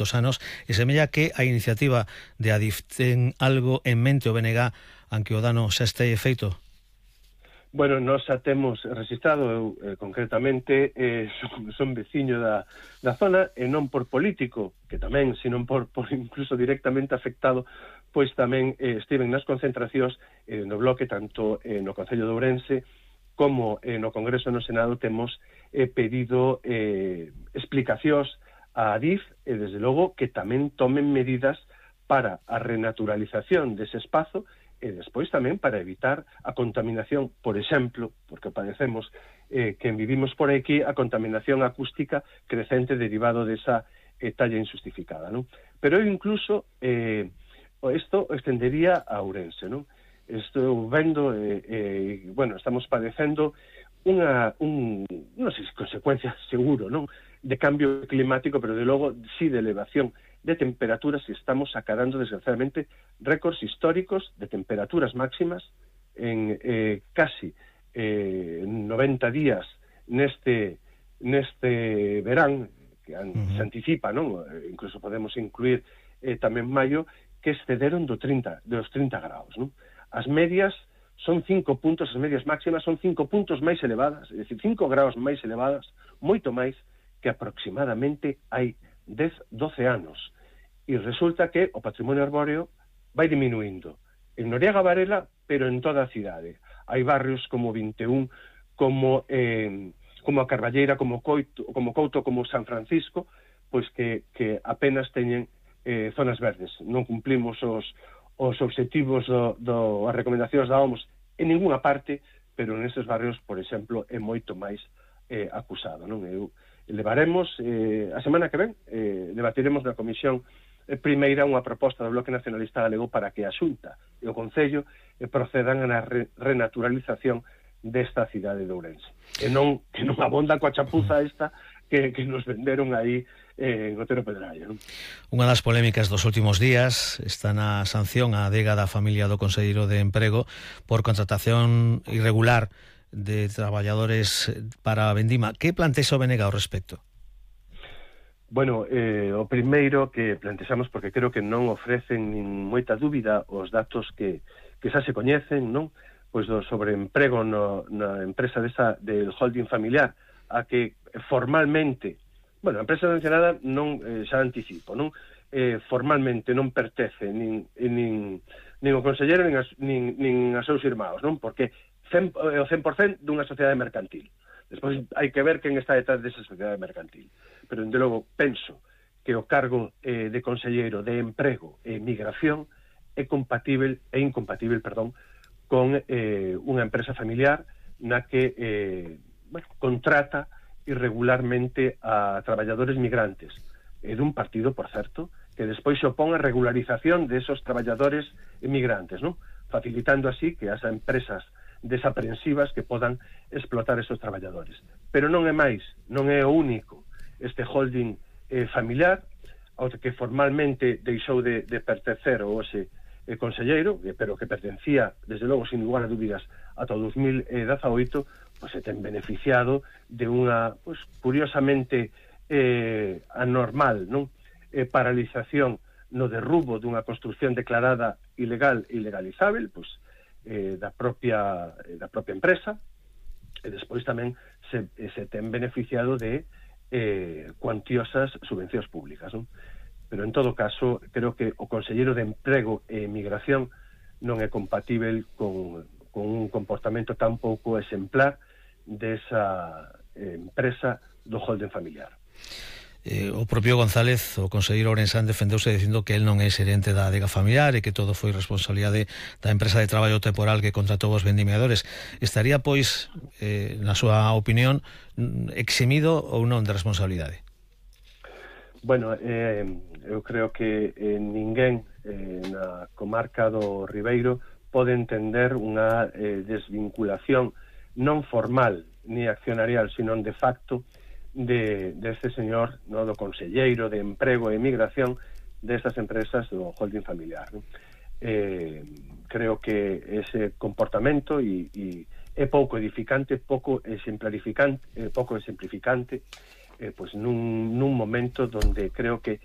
moitos anos, e semella que a iniciativa de Adif ten algo en mente o BNG aunque o dano xa este feito. Bueno, nós xa temos registrado, eu concretamente, son veciño da zona, e non por político, que tamén, sino por incluso directamente afectado, pois tamén estiven nas concentracións no bloque, tanto no Concello de Ourense como no Congreso no Senado temos pedido explicacións a Adif, e desde logo que tamén tomen medidas para a renaturalización dese espazo, e despois tamén para evitar a contaminación, por exemplo, porque padecemos quen vivimos por aquí, a contaminación acústica crecente derivado desa talla injustificada, non? Pero eu incluso isto extendería a Ourense, non? Estou vendo, bueno, estamos padecendo non sei se consecuencias seguro, non? De cambio climático, pero de logo sí de elevación de temperaturas, e estamos acadando desgraciadamente récords históricos de temperaturas máximas en casi 90 días neste verán, que se anticipa, non? Incluso podemos incluir tamén maio, que excederon dos 30 graus, non? As medias son 5 puntos, as medias máximas son 5 puntos máis elevadas, é dicir, 5 graus máis elevadas, moito máis que aproximadamente hai 10-12 anos. E resulta que o patrimonio arbóreo vai diminuindo. En Noriega Varela, pero en toda a cidade. Hai barrios como 21, como a Carballeira, como Couto, como San Francisco, pois que apenas teñen zonas verdes. Non cumplimos os obxectivos as recomendacións da OMS en ninguna parte, pero nestes barrios, por exemplo, é moito máis acusado, non? Levaremos a semana que ven, debatiremos na comisión primeira unha proposta do Bloque Nacionalista Galego para que a Xunta e o Concello procedan na renaturalización desta cidade de Ourense. Que non abonda coa chapuza esta que nos venderon aí en Otero Pedrallo, non? Unha das polémicas dos últimos días está na sanción á adega da familia do Conselleiro de Emprego por contratación irregular de traballadores para a Vendima. Que plantexa o BNG ao respecto? Bueno, o primeiro que plantexamos, porque creo que non ofrecen nin moita dúbida os datos que xa se coñecen, non? Pois do sobreemprego na empresa del holding familiar, a que formalmente, bueno, a empresa mencionada non, xa anticipo, non? Formalmente non pertence nin o conselleiro nin a seus irmãos, non? Porque o 100% dunha sociedade mercantil. Despois hai que ver quen está detrás desa sociedade mercantil. Pero, de logo, penso que o cargo de conselleiro de Emprego e Migración é incompatible con unha empresa familiar na que contrata irregularmente a traballadores migrantes, e dun partido, por certo, que despois se opón a regularización de esos traballadores migrantes, non? Facilitando así que as empresas desaprensivas que podan explotar esos traballadores. Pero non é máis, non é o único este holding familiar, ao que formalmente deixou de pertencer ao ese conselleiro, pero que pertencía, desde logo, sin lugar a dúbidas, ata o 2018, pois se ten beneficiado de unha, pois, curiosamente anormal, non? Paralización no derrubo dunha construción declarada ilegal e ilegalizável, pois, da propia empresa, e despois tamén se ten beneficiado de cuantiosas subvencións públicas, non? Pero en todo caso creo que o conselleiro de Emprego e Migración non é compatível con un comportamento tan pouco exemplar desa empresa do holding familiar. O propio González, o conselleiro ourensán, defendeuse dicindo que el non é xerente da adega familiar e que todo foi responsabilidade da empresa de traballo temporal que contratou os vendimiadores. Estaría, pois, na súa opinión, eximido ou non de responsabilidade? Bueno, eu creo que ninguén na comarca do Ribeiro pode entender unha desvinculación non formal ni accionarial, sino de facto de este señor, no, do conselleiro de Emprego e Migración destas empresas do holding familiar, non? Creo que ese comportamento é pouco edificante, pouco exemplificante, pois nun momento donde creo que